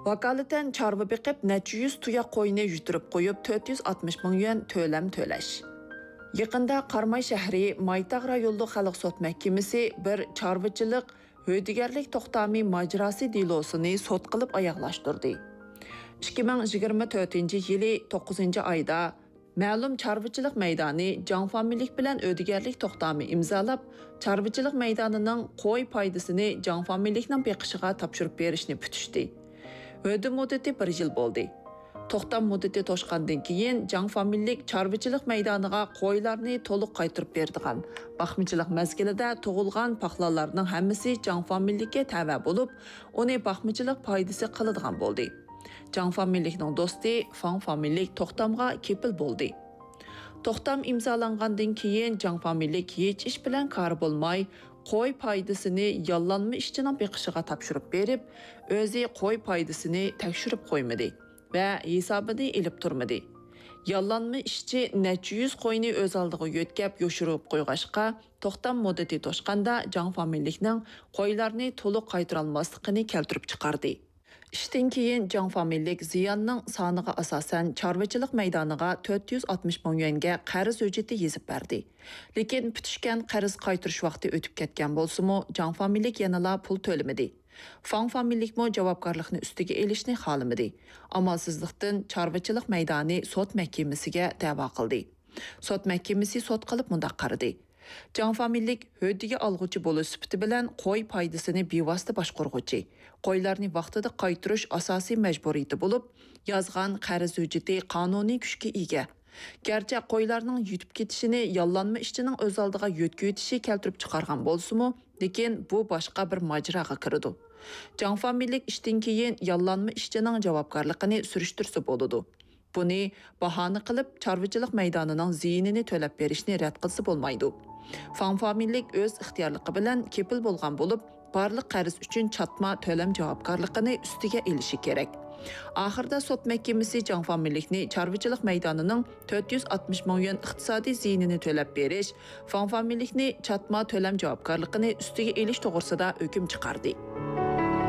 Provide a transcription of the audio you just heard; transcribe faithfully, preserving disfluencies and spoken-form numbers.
ۋاكالىتەن چارۋا بېقىپ، نەچچە يۈز تۇياق قوينى يۈتۈرۈپ قويۇپ، تۆت يۈز ئاتمىش مىڭ يۈەن تۆلەم تۆلەش. يېقىندا قاراماي شەھىرى مايتاغ رايونلۇق خەلق سوت مەھكىمىسى بىر چارۋىچىلىق ھۆددىگەرلىك توختامى ماجىراسى دېلوسىنى سوت قىلىپ ئاياغلاشتۇردى. ئىككى مىڭ يىگىرمە تۆتىنچى يىلى توققۇزىنچى ئايدا مەلۇم چارۋىچىلىق مەيدانى جاڭ فامىلىلىك بىلەن ھۆددىگەرلىك توختامى ئىمزالاپ، چارۋىچىلىق مەيدانىنىڭ قوي پايدىسىنى جاڭ فامىلىلىكنىڭ بېقىشىغا تاپشۇرۇپ بېرىشنى پۈتۈشتى. ھۆددە مۇددىتى بىر يىل بولدى. توختام مۇددىتى توشقاندىن كېيىن، جاڭ فامىلىلىك چارۋىچىلىق مەيدانىغا قويلارنى تولۇق قايتۇرۇپ بېرىدىغان، باقمىچىلىق مەزگىلىدە تۇغۇلغان پاقلانلارنىڭ ھەممىسى جاڭ فامىلىلىككە تەۋە بولۇپ، ئۇنى باقمىچىلىق پايدىسى قىلىدىغان بولدى. جاڭ فامىلىلىكنىڭ دوستى فاڭ فامىلىلىك توختامغا كېپىل بولدى. توختام ئىمزالانغاندىن كېيىن، جاڭ فامىلىلىك ھېچ ئىش بىلەن كارى بولماي، قوي پايدىسىنى ياللانما ئىشچىنىڭ بېقىشىغا تاپشۇرۇپ بېرىپ، ئۆزى قوي پايدىسىنى تەكشۈرۈپ قويمىدى ۋە ھېسابىنى ئېلىپ تۇرمىدى. ياللانما ئىشچى نەچچە يۈز قوينى ئۆز ئالدىغا يۆتكەپ يوشۇرۇپ قويغاچقا، توختام مۇددىتى توشقاندا جاڭ فامىلىلىكنىڭ قويلارنى تولۇق قايتۇرالماسلىقىنى كەلتۈرۈپ چىقاردى. ئىشتىن كېيىن جاڭ فامىلىلىك زىياننىڭ سانىغا ئاساسەن چارۋىچىلىق مەيدانىغا تۆت يۈز ئاتمىش مىڭ يۈەنگە قەرز ھۆججىتى يېزىپ بەردى. لېكىن پۈتۈشكەن قەرز قايتۇرۇش ۋاقتى ئۆتۈپ كەتكەن بولسىمۇ، جاڭ فامىلىلىك يەنىلا پۇل تۆلىمىدى. فاڭ فامىلىلىكمۇ جاۋابكارلىقنى ئۈستىگە ئېلىشنى خالىمىدى. ئامالسىزلىقتىن چارۋىچىلىق مەيدانى سوت مەھكىمىسىگە دەۋا قىلدى. سوت مەھكىمىسى سوت قىلىپ مۇنداق قارىدى: جاڭ فامىلىلىك ھۆددىگە ئالغۇچى بولۇش سۈپىتى بىلەن قوي پايدىسىنى بىۋاسىتە باشقۇرغۇچى، قويلارنى ۋاقتىدا قايتۇرۇش ئاساسىي مەجبۇرىيىتى بولۇپ، يازغان قەرز ھۆججىتى قانۇنىي كۈچكە ئىگە. گەرچە قويلارنىڭ يۈتۈپ كېتىشىنى ياللانما ئىشچىنىڭ ئۆز ئالدىغا يۆتكىۋېتىشى كەلتۈرۈپ چىقارغان بولسىمۇ، لېكىن بۇ باشقا بىر ماجىراغا كىرىدۇ. جاڭ فامىلىلىك ئىشتىن كېيىن ياللانما ئىشچىنىڭ جاۋابكارلىقىنى سۈرۈشتۈرسە بولىدۇ. بۇنى باھانە قىلىپ، چارۋىچىلىق مەيدانىنىڭ زىيىنىنى تۆلەپ بېرىشنى رەت قىلسا بولمايدۇ. فاڭ فامىلىلىك ئۆز ئىختىيارلىقى بىلەن كېپىل بولغان بولۇپ، بارلىق قەرز ئۈچۈن چاتما تۆلەم جاۋابكارلىقىنى ئۈستىگە ئېلىشى كېرەك. ئاخىرىدا سوت مەھكىمىسى جاڭ فامىلىلىكنى چارۋىچىلىق مەيدانىنىڭ تۆت يۈز ئاتمىش مىڭ يۈەن ئىقتىسادىي زىيىنىنى تۆلەپ بېرىش، فاڭ فامىلىلىكنى چاتما تۆلەم جاۋابكارلىقىنى ئۈستىگە ئېلىش توغرىسىدا ھۆكۈم چىقاردى.